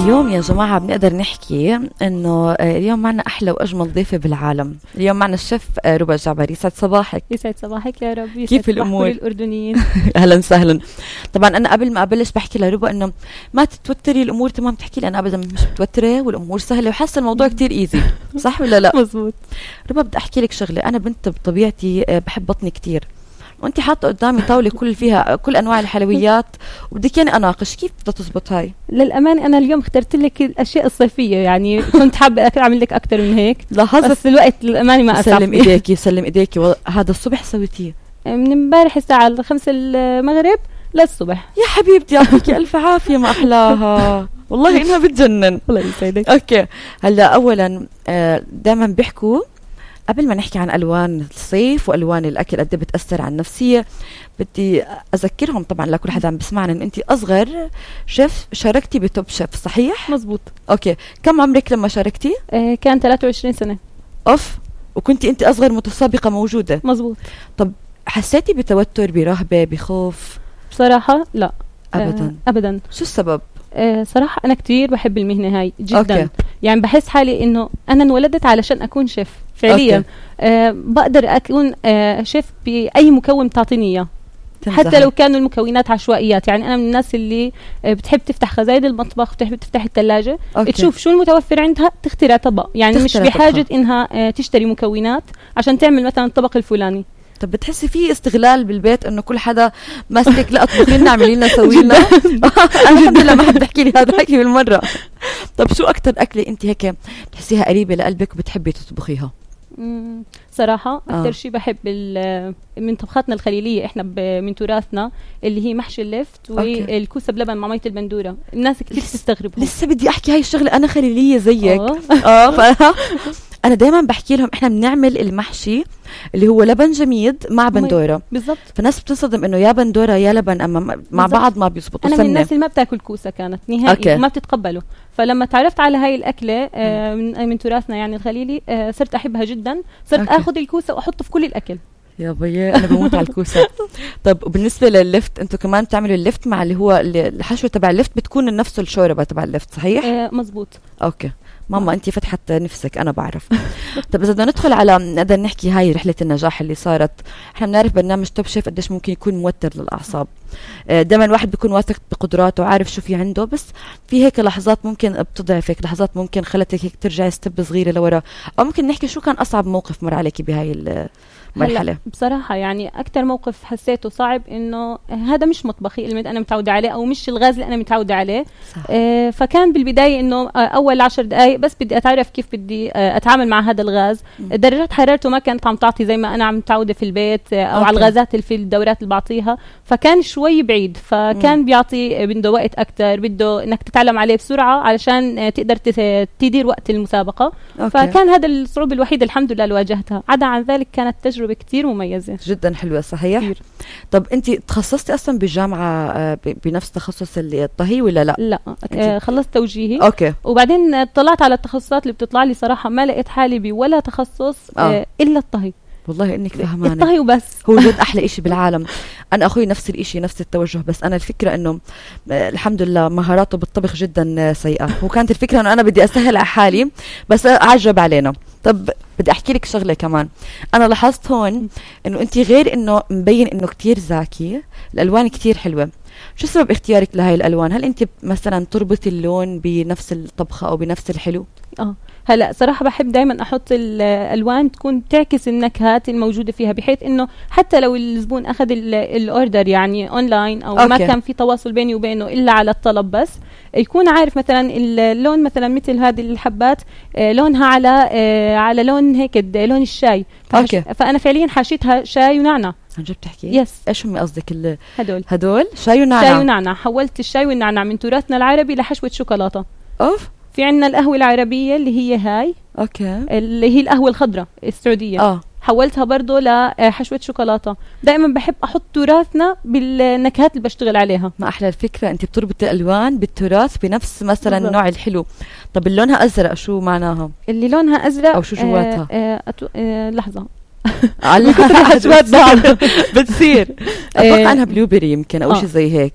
اليوم يا جماعة بنقدر نحكي إنه اليوم معنا أحلى وأجمل ضيفة بالعالم. اليوم معنا الشيف ربى الجعبري. يسعد صباحك. يسعد صباحك يا رب. كيف الأمور؟ كل الأردنيين. أهلا وسهلا. طبعا أنا قبل ما أبلش بحكي لربى إنه ما تتوتري، الأمور تمام. تحكي لي أنا أبدا مش متوترة والأمور سهلة وحاسة الموضوع كتير إيزي، صح ولا لا؟ مزبوط. ربى بدي أحكي لك شغلة. أنا بنت بطبيعتي بحب بطني كتير، وانت حاطه قدامي طاوله كل فيها كل انواع الحلويات وبدك يعني اناقش كيف بدها تزبط هاي. للأمانة أنا اليوم اخترت لك الأشياء الصيفية، يعني كنت حابة أعمل لك أكتر من هيك. لاحظت بس الوقت للأمانة ما أسعف. سلم إيديكي سلم إيديكي. هذا الصبح سويتيه من امبارح الساعة 5 المغرب للصبح. يا حبيبتي يعطيكي ألف عافية، ما أحلاها والله إنها بتجنن. الله يسعدك. أوكي هلا أولا دائما بيحكوا قبل ما نحكي عن ألوان الصيف وألوان الأكل قد بتأثر على النفسية، بدي أذكرهم طبعا لكل حدا عم بسمعنا إن أنت أصغر شيف شاركتي بتوب شيف، صحيح؟ مزبوط. أوكي كم عمرك لما شاركتي؟ كان 23 سنة. أوف. وكنتي أنت أصغر متسابقة موجودة؟ مزبوط. طب حسيتي بتوتر، برهبة، بخوف؟ بصراحة لا أبدا. أبدا. شو السبب؟ صراحة أنا كتير بحب المهنة هاي جدا. أوكي. يعني بحس حالي إنه أنا انولدت علشان أكون شيف فعليا. بقدر أكون شيف بأي مكون تعطيني إياه، حتى لو كانوا المكونات عشوائيات. يعني أنا من الناس اللي بتحب تفتح خزاين المطبخ، بتحب تفتح الثلاجة، تشوف شو المتوفر عندها، تخترع طبق. يعني مش بحاجة إنها تشتري مكونات عشان تعمل مثلا الطبق الفلاني. طب بتحسي في استغلال بالبيت انه كل حدا ماسك لا اطبخي لنا اعملي لنا سوي لنا؟ انا الحمد لله ما حد بحكي لي هذا الحكي بالمره. طب شو اكثر اكله انت هيك بتحسيها قريبه لقلبك وبتحبي تطبخيها؟ صراحة أكثر شيء بحب من طبخاتنا الخليلية، إحنا من تراثنا اللي هي محشي اللفت والكوسة بلبن مع مية البندورة. الناس كتير تستغرب. لسه بدي أحكي هاي الشغلة، أنا خليلية زيك. أنا دايما بحكي لهم إحنا بنعمل المحشي اللي هو لبن جميد مع بندورة بالضبط. فالناس بتصدم إنه يا بندورة يا لبن، أما مع بعض ما بيزبطوا. أنا من الناس اللي ما بتاكل كوسة كانت نهائي، ما بتتقبله. فلما تعرفت على هاي الأكلة من تراثنا يعني الخليلي، صرت أحبها جدا. صرت أخذ الكوسة وأحطه في كل الأكل. يا بيي أنا بموت على الكوسة. طب وبالنسبة لللفت أنتوا كمان بتعملوا اللفت مع اللي هو الحشوة تبع اللفت بتكون نفس الشوربة تبع اللفت، صحيح؟ مزبوط. أوكي ماما أنتي فتحت نفسك، أنا بعرف. طب إذا بدنا ندخل على نقدر نحكي هاي رحلة النجاح اللي صارت. إحنا بنعرف برنامج توب شيف قديش ممكن يكون موتر للأعصاب. دائما الواحد بيكون واثق بقدراته وعارف شو في عنده، بس في هيك لحظات ممكن بتضعفك، لحظات ممكن خلتك هيك ترجعي ستيب صغيرة لورا. أو ممكن نحكي شو كان أصعب موقف مر عليكي بهاي المرحلة؟ بصراحة يعني أكتر موقف حسيته صعب إنه هذا مش مطبخي اللي أنا متعودة عليه، أو مش الغاز اللي أنا متعودة عليه. فكان بالبداية إنه أول 10 دقايق بس بدي أتعرف كيف بدي أتعامل مع هذا الغاز. درجات حرارته ما كانت عم تعطي زي ما أنا عم متعودة في البيت، أو على الغازات اللي في الدورات اللي بعطيها. فكان شوي بعيد، فكان بيعطي بده وقت أكتر، بده إنك تتعلم عليه بسرعة علشان تقدر تدير وقت المسابقة. فكان هذا الصعوبة الوحيدة الحمد لله اللي واجهتها. عدا عن ذلك كانت تجربة كتير مميزة جدا حلوة، صحيح كتير. طب انت تخصصتي اصلا بالجامعة بنفس تخصص الطهي ولا لا؟ لا خلصت توجيهي. اوكي. وبعدين طلعت على التخصصات اللي بتطلع لي، صراحة ما لقيت حالي بولا تخصص الا الطهي. والله انك فهمانه. الطهي وبس هو جد احلى اشي بالعالم. انا اخوي نفس الاشي، نفس التوجه، بس انا الفكره انه الحمد لله مهاراته بالطبخ جدا سيئه. هو كانت الفكره انه انا بدي اسهل على حالي بس عجب علينا. طب بدي احكي لك شغله كمان. انا لاحظت هون انه انت غير انه مبين انه كتير ذكي، الالوان كتير حلوه. شو سبب اختيارك لهاي الالوان؟ هل انت مثلا تربطي اللون بنفس الطبخه او بنفس الحلو؟ هلا صراحة بحب دايما أحط الألوان تكون تعكس النكهات الموجودة فيها، بحيث إنه حتى لو الزبون أخذ الأوردر يعني أونلاين أو ما كان في تواصل بيني وبينه إلا على الطلب، بس يكون عارف مثلا اللون، مثلا مثل هذه الحبات لونها على لون هيك لون الشاي. فأنا فعليا حاشيتها شاي ونعناع. عن جد بتحكي؟ يس. ايش هم قصدك هدول شاي ونعناع. حولت الشاي والنعناع من تراثنا العربي لحشوة شوكولاتة. في عندنا القهوة العربية اللي هي هاي اللي هي القهوة الخضراء السعودية. حولتها برضو لحشوة شوكولاتة. دائما بحب أحط تراثنا بالنكهات اللي بشتغل عليها. ما أحلى الفكرة، أنت بتربط الألوان بالتراث بنفس مثلا النوع الحلو. طب اللونها أزرق شو معناها؟ اللي لونها أزرق أو شو جواتها؟ لحظة على بتصير اتوقع عنها بلوبري يمكن او شيء زي هيك.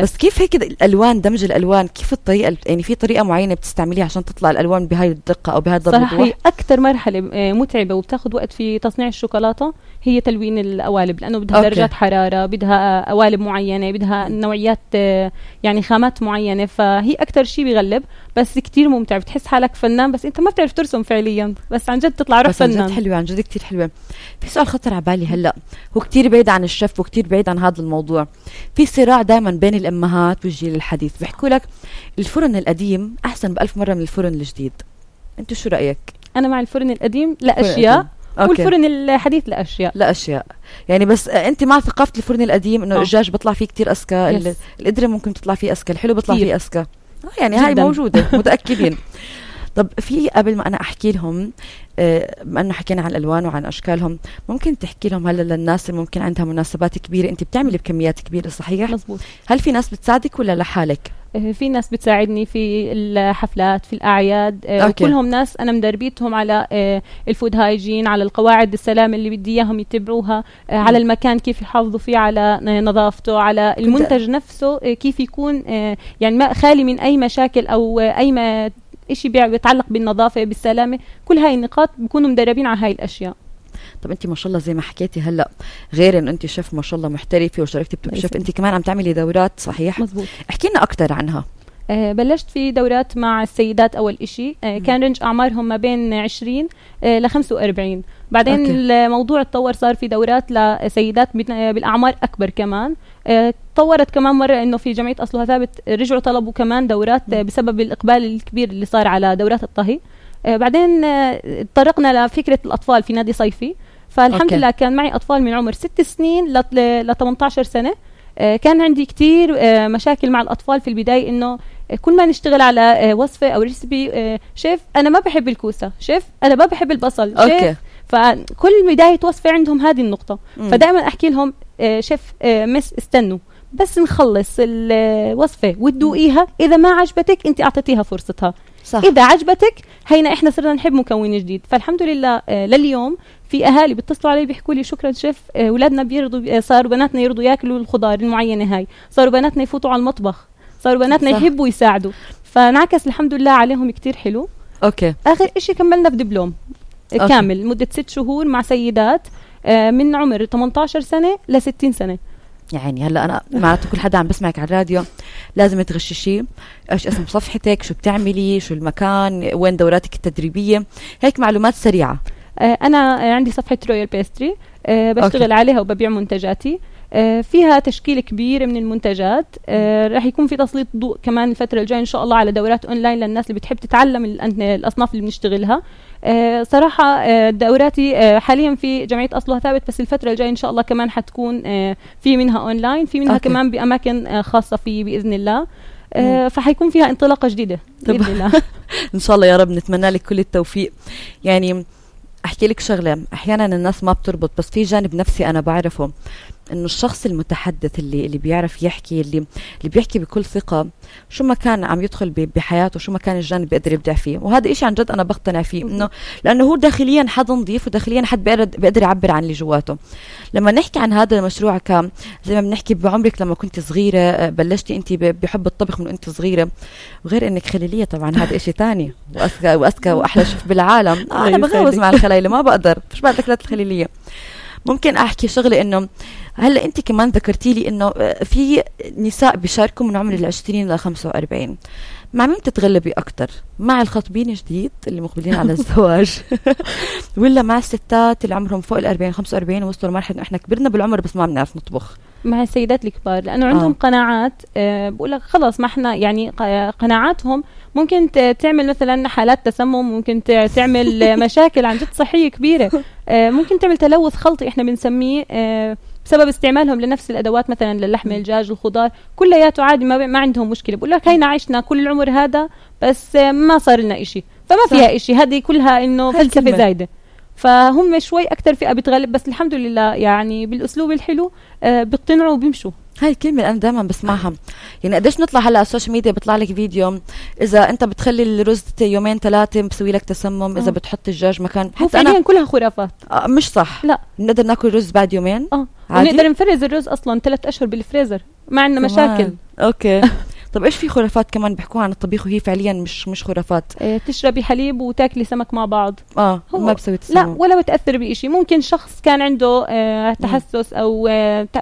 بس كيف هيك الالوان، دمج الالوان، كيف الطريقه يعني في طريقه معينه بتستعمليها عشان تطلع الالوان بهاي الدقه او بهاي الضبط؟ صراحه هي اكثر مرحله متعبه وبتاخذ وقت في تصنيع الشوكولاته هي تلوين القوالب، لانه بدها درجات حراره، بدها قوالب معينه، بدها نوعيات يعني خامات معينه، فهي اكثر شيء بيغلب. بس كتير ممتع، بتحس حالك فنان بس انت ما بتعرف ترسم فعليا، بس عن جد تطلع روح فنان. عن جد حلوه، عن جد كتير حلوه. في سؤال خطر على بالي هلا، هو كتير بعيد عن الشيف وكتير بعيد عن هذا الموضوع. في صراع دائما بين الامهات والجيل الحديث، بيحكوا لك الفرن القديم احسن ب1000 مره من الفرن الجديد. انت شو رايك؟ انا مع الفرن القديم لاشياء والفرن الحديث لاشياء يعني. بس انت مع ثقافه الفرن القديم انه الدجاج بيطلع فيه كتير اذكى، القدره ممكن تطلع فيه اذكى، الحلو بيطلع فيه اذكى، يعني هاي موجوده متاكدين. طب في قبل ما انا احكي لهم، بما انه حكينا عن الالوان وعن اشكالهم، ممكن تحكي لهم هلا للناس اللي ممكن عندها مناسبات كبيره، انت بتعملي بكميات كبيره صحيح؟ مزبوط. هل في ناس بتساعدك ولا لحالك؟ في ناس بتساعدني في الحفلات، في الأعياد، وكلهم ناس أنا مدربيتهم على الفود هايجين، على القواعد السلامة اللي بدي إياهم يتبعوها، على المكان كيف يحافظوا فيه على نظافته، على المنتج نفسه كيف يكون يعني ما خالي من أي مشاكل أو أي إشي بيتعلق بالنظافة بالسلامة. كل هاي النقاط بيكونوا مدربين على هاي الأشياء. طب انت ما شاء الله زي ما حكيتي هلا، غير انه انت شيف ما شاء الله محترفه وشاركتي بتوب شيف، انت كمان عم تعملي دورات صحيح؟ مزبوط. احكي لنا اكثر عنها. بلشت في دورات مع السيدات أول إشي، كان رنج أعمارهم ما بين 20 ل 45. بعدين الموضوع تطور، صار في دورات لسيدات بالأعمار أكبر كمان. تطورت كمان مرة إنه في جمعية أصلها ثابت رجعوا طلبوا كمان دورات بسبب الإقبال الكبير اللي صار على دورات الطهي. بعدين طرقنا لفكرة الأطفال في نادي صيفي، فالحمد لله كان معي أطفال من عمر 6 سنين ل 18 سنة. كان عندي كتير مشاكل مع الأطفال في البداية، إنه كل ما نشتغل على وصفة أو ريسبي، شيف أنا ما بحب الكوسة، شيف أنا ما بحب البصل، شيف. فكل بداية وصفة عندهم هذه النقطة. فدائما أحكي لهم شيف مس استنوا بس نخلص الوصفة وتدوقيها، إذا ما عجبتك أنت أعطيتيها فرصتها، صح. إذا عجبتك هينا إحنا صرنا نحب مكون جديد. فالحمد لله لليوم في أهالي بيتصلوا علي بيحكوا لي شكرا شيف، أولادنا بيرضوا، صاروا بناتنا يرضوا ياكلوا الخضار المعينة هاي، صاروا بناتنا يفوتوا على المطبخ، صاروا بناتنا يحبوا يساعدوا. فنعكس الحمد لله عليهم كتير حلو. آخر إشي كملنا بدبلوم كامل مدة 6 شهور مع سيدات من عمر 18 سنة ل 60 سنة. يعني هلا انا معناته كل حدا عم بسمعك على الراديو لازم تغششي ايش اسم صفحتك، شو بتعملي، شو المكان، وين دوراتك التدريبيه، هيك معلومات سريعه. انا عندي صفحه رويال بيستري، بشتغل عليها وببيع منتجاتي. فيها تشكيل كبير من المنتجات. راح يكون في تسليط ضوء كمان الفترة الجاية إن شاء الله على دورات أونلاين للناس اللي بتحب تتعلم الأصناف اللي بنشتغلها. صراحة دوراتي حاليا في جمعية أصلها ثابت، بس الفترة الجاية إن شاء الله كمان حتكون في منها أونلاين، في منها كمان بأماكن خاصة في بإذن الله. فحيكون فيها انطلاقة جديدة بإذن الله. إن شاء الله يا رب، نتمنى لك كل التوفيق. يعني أحكي لك شغلة، أحيانا الناس ما بتربط، بس في جانب نفسي أنا بعرفه، إنه الشخص المتحدث اللي بيعرف يحكي، اللي بيحكي بكل ثقة، شو ما كان عم يدخل بحياته، شو ما كان الجانب بيقدر يبدع فيه. وهذا إشي عن جد أنا بقتنع فيه، إنه لأنه هو داخليا حد نظيف، وداخليا حد بيقدر يعبر عن اللي جواته. لما نحكي عن هذا المشروع زي ما بنحكي بعمرك لما كنت صغيرة بلشتي أنت بحب الطبخ من أنت صغيرة، وغير إنك خليلية طبعا هذا إشي تاني، وأذكى وأحلى شيف بالعالم. أنا بغوز مع الخلايلة، ما بقدر، مش بعد أكلات الخليلية. ممكن أحكي شغلة، إنه هلأ أنت كمان ذكرتي لي إنه في نساء بيشاركوا من عمر 20 إلى 45. مع مين تتغلبي أكتر؟ مع الخطبين جديد اللي مقبلين على الزواج ولا مع الستات اللي عمرهم فوق 40 45 ووصلوا لمرحلة إنه إحنا كبرنا بالعمر بس ما بنعرف نطبخ؟ مع السيدات الكبار، لأنه عندهم قناعات. بقول لك خلاص، ما إحنا يعني قناعاتهم ممكن تعمل مثلا حالات تسمم، ممكن تعمل مشاكل عن جد صحية كبيرة، ممكن تعمل تلوث خلطي إحنا بنسميه بسبب استعمالهم لنفس الأدوات، مثلا للحم الدجاج الخضار كلياته عادي، ما عندهم مشكلة. بقول لك هينا عشنا كل العمر هذا بس ما صار لنا إشي، فما فيها إشي. هذه كلها إنه فلسفة زايدة. فهم شوي أكتر فئة بتغلب، بس الحمد لله يعني بالأسلوب الحلو بيقتنعوا وبيمشوا. هاي الكلمة أنا دائما بسمعها، يعني قديش نطلع هلا على السوشيال ميديا بيطلع لك فيديو إذا أنت بتخلي الرز 2-3 بسوي لك تسمم، إذا بتحط الدجاج مكان. حتى أنا كلها خرافات. مش صح. لا نقدر ناكل رز بعد يومين. ونقدر نفرز الرز أصلا 3 أشهر بالفريزر ما عندنا مشاكل. أوكي. طب إيش في خرافات كمان بيحكوا عن الطبيخ وهي فعليا مش خرافات؟ تشربي حليب وتاكلي سمك مع بعض. ما بسوي تسمم. لا ولا بتأثر بإشي. ممكن شخص كان عنده تحسس أو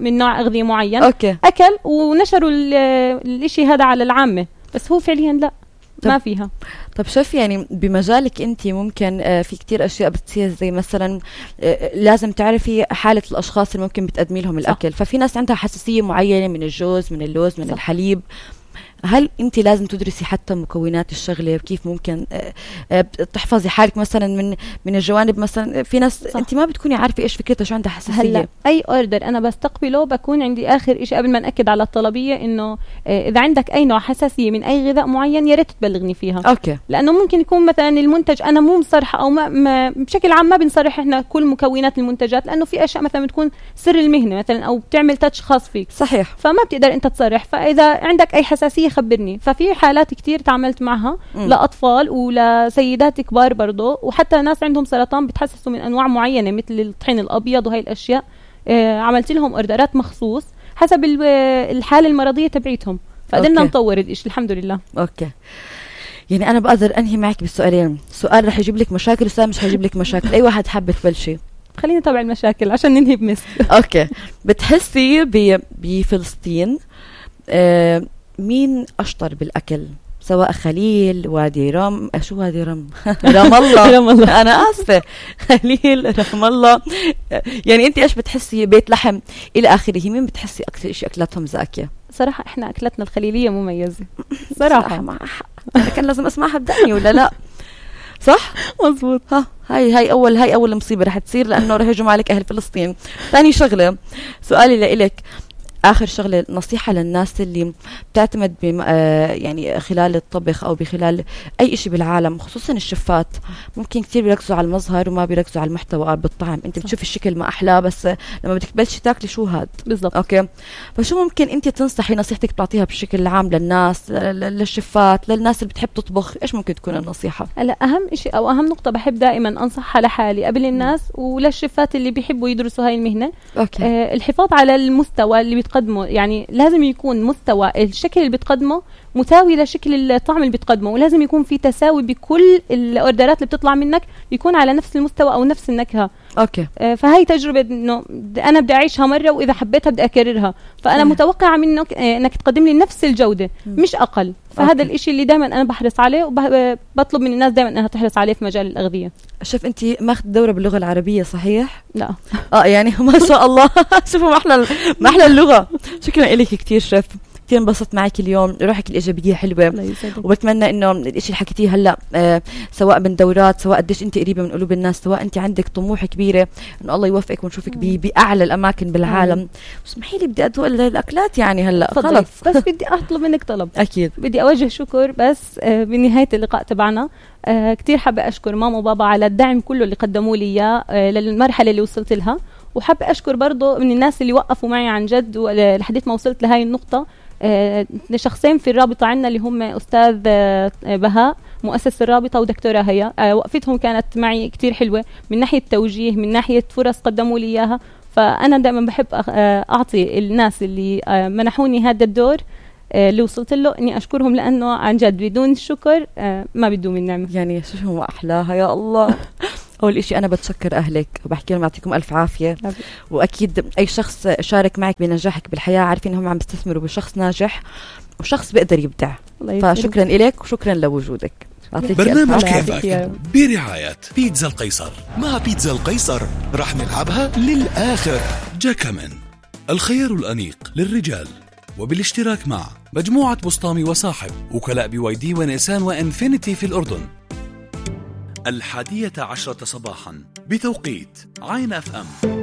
من نوع أغذية معين. أوكي. أكل ونشروا الإشي هذا على العامة، بس هو فعليا لا ما فيها. طب شوف يعني بمجالك انت ممكن في كتير اشياء بتصير، زي مثلا لازم تعرفي حالة الاشخاص اللي ممكن بتقدمي لهم الاكل. ففي ناس عندها حساسية معينة من الجوز، من اللوز، من الحليب. هل انت لازم تدرسي حتى مكونات الشغله وكيف ممكن تحفظي حالك مثلا من الجوانب؟ مثلا في ناس انت ما بتكوني عارفه ايش فكرتها، شو عندها حساسيه. هلا اي اوردر انا بستقبله بكون عندي اخر شيء قبل ما ناكد على الطلبيه انه اذا عندك اي نوع حساسيه من اي غذاء معين يا ريت تبلغني فيها. اوكي. لانه ممكن يكون مثلا المنتج انا مو مصرحه او ما بشكل عام ما بنصرح احنا كل مكونات المنتجات، لانه في اشياء مثلا بتكون سر المهنه مثلا او بتعمل تاتش خاص فيك. صحيح. فما بتقدر انت تصرح. فاذا عندك اي حساسيه خبرني. ففي حالات كتير تعاملت معها لأطفال ولسيدات كبار برضو، وحتى ناس عندهم سرطان بتحسسوا من أنواع معينة مثل الطحين الأبيض وهي الأشياء. عملت لهم أوردرات مخصوص حسب الحالة المرضية تبعيتهم، فقدرنا نطور الإشي الحمد لله. أوكي. يعني أنا بقدر أنهي معك بالسؤالين، سؤال رح يجيب لك مشاكل وسؤال مش هيجيب لك مشاكل. أي واحد حابة تبلشي؟ خلينا نتابع المشاكل عشان ننهي بمثل. أوكي. بتحسي بفلسطين مين أشطر بالأكل؟ سواء خليل، وادي رام، شو وادي رام؟ رام الله. رام الله. أنا آسفة. خليل، رام الله. يعني أنت إيش بتحسي؟ بيت لحم إلى آخره، مين بتحسي أكثر إشي أكلاتهم زاكية؟ صراحة إحنا أكلتنا الخليلية مميزة. صراحة كان لازم أسمعها بدقني ولا لا؟ صح؟ مزبوط. هاي أول مصيبة رح تصير، لأنه رح يهجم عليك أهل فلسطين. ثاني شغلة، سؤالي لإلك، آخر شغلة، نصيحة للناس اللي بتعتمد يعني خلال الطبخ أو بخلال أي إشي بالعالم، خصوصا الشفات، ممكن كتير بيركزوا على المظهر وما بيركزوا على المحتوى بالطعم. أنت بتشوف الشكل ما أحلى، بس لما بدك تبلشي تاكلي شو هاد بالضبط. أوكي. فشو ممكن أنت تنصحي، نصيحتك تعطيها بشكل عام للناس، للشفات، للناس اللي بتحب تطبخ؟ إيش ممكن تكون النصيحة؟ هلا أهم إشي أو أهم نقطة بحب دائما أنصحها لحالي قبل الناس وللشفات اللي بيحبوا يدرسوا هاي المهنة. أوكي. الحفاظ على المستوى اللي بتقدمه، يعني لازم يكون مستوى الشكل اللي بتقدمه مساوي لشكل الطعم اللي بتقدمه، ولازم يكون في تساوي بكل الاوردرات اللي بتطلع منك، يكون على نفس المستوى او نفس النكهه. اوكي. فهي تجربه انه انا بدي اعيشها مره، واذا حبيتها بدي اكررها. فانا متوقعه منك انك تقدم لي نفس الجوده مش اقل. فهذا الاشي اللي دائما انا بحرص عليه، وبطلب من الناس دائما انها تحرص عليه في مجال الاغذيه. شوف انت ماخذ دوره باللغه العربيه صحيح؟ لا. يعني ما شاء الله. شوفوا ما احلى اللغه. شكرا لك كثير شيف، كثير انبسطت معك اليوم، روحك الإيجابية حلوة، وبتمنى إنه الإشي اللي حكيتيه هلا سواء من دورات، سواء قديش أنت قريبة من قلوب الناس، سواء أنت عندك طموح كبيرة، إنه الله يوفقك ونشوفك بأعلى الأماكن بالعالم. اسمحي لي بدي أدوق الأكلات يعني هلا خلص. بس بدي أطلب منك طلب. أكيد بدي أوجه شكر بس بنهاية اللقاء تبعنا. كتير حابة أشكر ماما وبابا على الدعم كله اللي قدموا لي إياه للمرحلة اللي وصلت لها، وحابة أشكر برضو من الناس اللي وقفوا معي عن جد لحديت ما وصلت لهاي النقطة. شخصين في الرابطة عنا اللي هم أستاذ بهاء مؤسس الرابطة ودكتورة هيا، وقفتهم كانت معي كتير حلوة من ناحية توجيه، من ناحية فرص قدموا لي إياها. فأنا دائما بحب أعطي الناس اللي منحوني هذا الدور اللي وصلت له إني أشكرهم، لأنه عن جد بدون الشكر ما بدو من نعمة. يعني شو أحلاها يا الله. أول إشي أنا بتشكر أهلك وبحكي لهم يعطيكم ألف عافية، وأكيد أي شخص شارك معك بنجاحك بالحياة عارفين إنهم عم بيستثمروا بشخص ناجح وشخص بيقدر يبدع. فشكرا إليك وشكرا لوجودك. برنامج كيفك برعاية بيتزا القيصر. مع بيتزا القيصر رح نلعبها للآخر. جاكامن الخيار الأنيق للرجال، وبالاشتراك مع مجموعة بسطامي وصاحب، وكلاء BYD ونيسان وإنفينيتي في الأردن. 11:10 صباحا بتوقيت عين FM.